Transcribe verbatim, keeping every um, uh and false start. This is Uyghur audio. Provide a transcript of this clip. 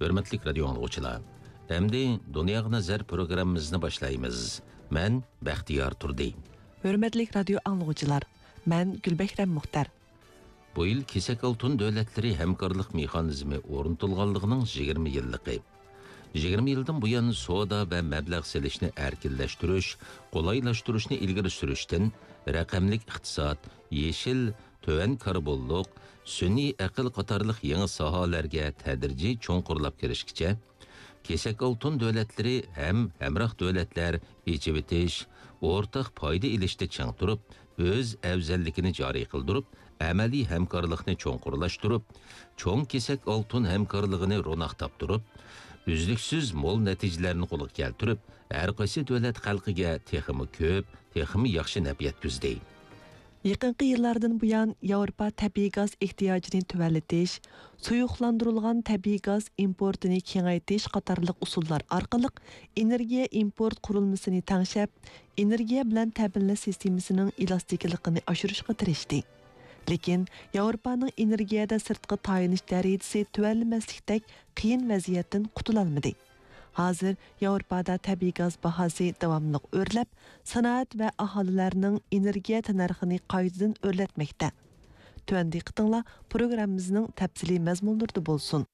ھۆرمەتلىك رادىيو ئاڭلىغۇچىلار، ئەمدى دۇنياغا نەزەر پروگراممىمىزنى باشلايمىز. مەن بەختىيار تۇردى. ھۆرمەتلىك رادىيو ئاڭلىغۇچىلار، مەن گۈلبەھرەم مۇختەر. بۇ يىل كېسەك ئالتۇن دۆلەتلىرى ھەمكارلىق مېخانىزمى ئورنىتىلغانلىقىنىڭ يىگىرمە يىللىقى. يىگىرمە يىلدىن بۇيان سودا ۋە مەبلەغ سېلىشنى ئەركىنلەشتۈرۈش، قولايلاشتۇرۇشنى ئىلگىرى سۈرۈشتىن، رەقەملىك ئىقتىساد، يېشىل، تۆۋەن كاربونلۇق، سۈنئىي ئەقىل قاتارلىق يېڭى ساھەلەرگە تەدرىجىي چوڭقۇرلاپ كىرىشكىچە، كېسەك ئالتۇن دۆلەتلىرى ھەم ھەمراھ دۆلەتلەر ئېچىۋېتىش، ئورتاق پايدا ئېلىشتا چىڭ تۇرۇپ، ئۆز ئەۋزەللىكىنى جارى قىلدۇرۇپ، ئەمەلىي ھەمكارلىقنى چوڭقۇرلاشتۇرۇپ، چوڭ كېسەك ئالتۇن ھەمكارلىقىنى روناق تاپتۇرۇپ، ئۈزلۈكسىز مول نەتىجىلەرنى قولغا كەلتۈرۈپ، ھەر قايسى دۆلەت خەلقىگە تېخىمۇ كۆپ، تېخىمۇ ياخشى نەپ يەتكۈزدى. يېقىنقى يىللاردىن بۇيان، ياۋروپا تەبىئىي گاز ئېھتىياجىنى تۆۋەنلىتىش، سۇيۇقلاندۇرۇلغان تەبىئىي گاز ئىمپورتىنى كېڭەيتىش قاتارلىق ئۇسۇللار ئارقىلىق ئېنېرگىيە ئىمپورت قۇرۇلمىسىنى تەڭشەپ، ئېنېرگىيە بىلەن تەمىنلەش سىستېمىسىنىڭ ئېلاستىكىلىقىنى ئاشۇرۇشقا تىرىشتى. لېكىن ياۋروپانىڭ ئېنېرگىيەدە سىرتقا تايىنىش دەرىجىسى تۆۋەنلىمەسلىكتەك قىيىن ۋەزىيەتتىن قۇتۇلالمىدى. ھازىر ياۋروپادا تەبىئىي گاز باھاسى داۋاملىق ئۆرلەپ، سانائەت ۋە ئاھالىلەرنىڭ ئېنېرگىيە تەننەرخىنى قايتىدىن ئۆرلەتمەكتە. تۆۋەن دىققىتىڭلار پروگراممىمىزنىڭ تەپسىلىي مەزمۇنلىرىدا بولسۇن.